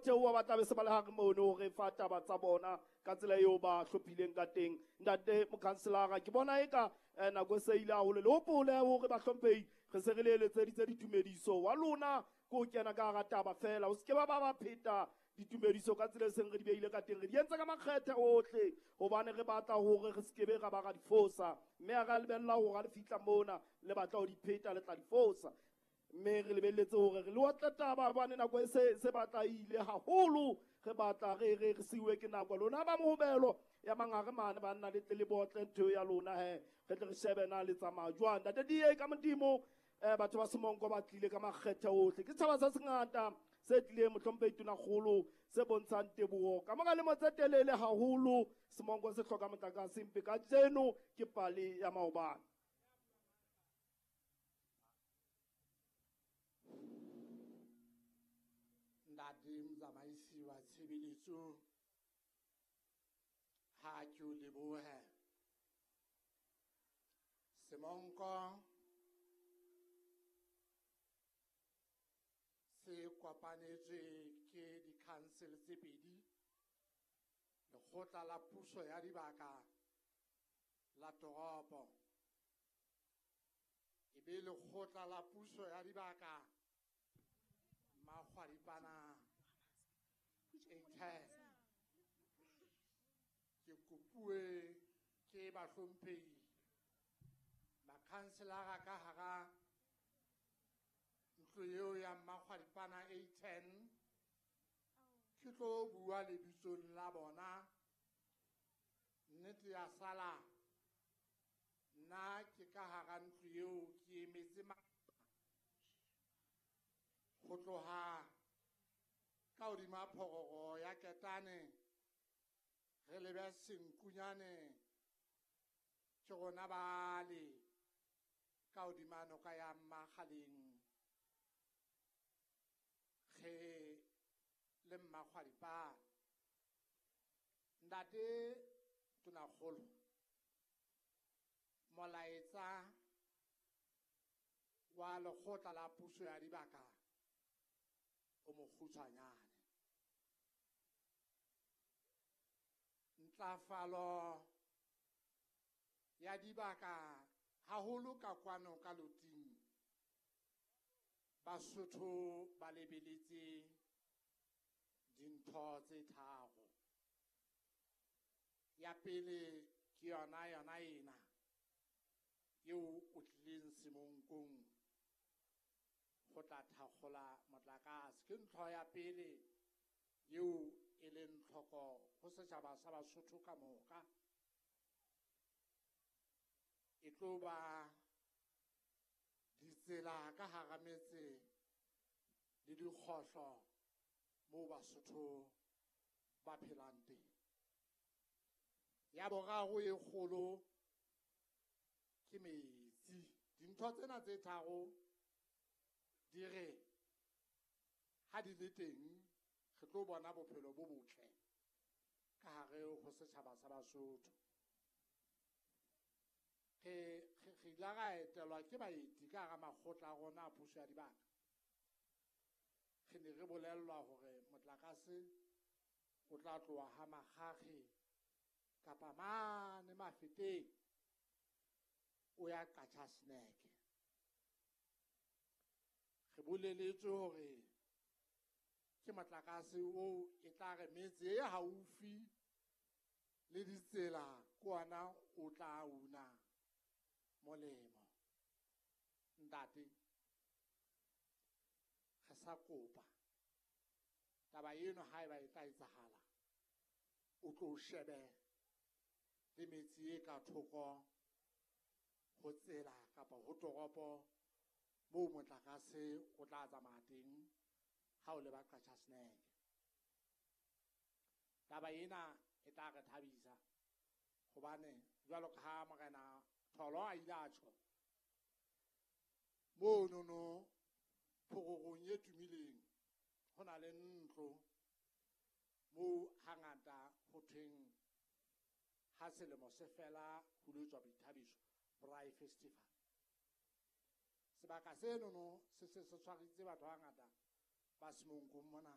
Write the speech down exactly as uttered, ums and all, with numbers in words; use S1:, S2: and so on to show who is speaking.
S1: theoha ba tla be se ba le hare mono re fa taba tsa bona ka tsela eo ba hlophileng ka teng. Ntate mokhanselara, ke bona eka eh, nako e se ile haholo. Le hopole hore bahlomphehi re se re le eletseditse ditumediso wa lona ke ho kena ka hara taba fela, o se ke ba ba ba pheta ditumediso ka tsela e seng re di beile ka teng. Re di entse ka makgethe ohle hobane re batla hore re se ke be ra ba ra di fosa, mme ha re a lebella hore ha le fihla mona le batla ho di pheta le tla di fosa. Mme re lebelletse hore re le otle taba hobane nako e se, se batla ile haholo, re batla re, re, re siuwe ke nako. Lona ba mohobelo ya mangare mane banna le tle le botle ntho ya lona he, re tle re shebe na le tsamaya jwang. Ntate D A ka Modimo, eh, batho ba Semonko ba tlile ka makgethe ohle. Ke setjhaba se sengata se tlileng mohlomphehi Tonakgolo se bontshang teboho. Ka mora lemo tse telele haholo, Semonko se hloka motlakase, empa kajeno ke pale ya maobane.
S2: Ntate motsamaisi wa tshebeletso, ha ke o lebohe. Semonko se kopanetswe ke di-council tse pedi, lekgotla la puso ya dibaka la toropo, e be lekgotla la puso ya dibaka Makgwadipana eight. Ke kopuwe ke bahlomphehi makhanselara ka hara ntlo eo ya Makgwadipana eight ten, ke tlo bua lebitsong la bona. Nnete ya sala nna ke ka hara ntlo eo, ke emetse ma-, ho tloha ka hodima phororo ya Ketane re lebe Senkunyane, ke rona bale ka hodima noka ya Mmakgaleng re le Mmakgwadipana. Ntate Tonakgolo, molaetsa wa lekgotla la puso ya dibaka o mokgutshwanyane. Ntlafalo ya dibaka haholo ka kwano ka loting, Basotho ba lebeletse dintho tse tharo. Ya pele ke yona yona ena eo o tlileng Semonkong ho tla thakgola motlakase. Ke ntho ya pele eo e leng tlhoko ho setjhaba sa Basotho ka moka. E tlo ba ditsela ka hara metse le dikgohlo moo Basotho ba phelang teng. Ya boraro e kgolo ke metsi. Dintho tsena tse tharo di re ha di le teng re tlo bona bophelo bo botle ka hare ho setjhaba sa Basotho. Re, re, re ile ra etelwa ke baeti ka hara makgotla a rona a puso ya dibaka. Re ne re bolellwa hore motlakase o tla tloha ha Makgakge kapa mane Mafeteng o ya Qachaseneke. Re boleletswe hore ke motlakase oo e tla re metse e haufi le ditsela ke ona o tla una molemo. Ntate, re sa kopa taba eno haeba e tla etsahala, o tlo shebe le metse e ka thoko ho tsela kapa ho toropo moo motlakase o tla tsamaya teng ha o leba Qachaseneke. Taba ena e tla re thabisa hobane jwalo ka ha Morena Tholo a ile a tjho monono phororong e tumileng ho na le ntlo moo hangata ho thweng ha selemo se fela ho lo etswa boithabiso, Braai Festival. Sebaka senono se se se tshwaritse batho ba bangata ba Semonkong mona.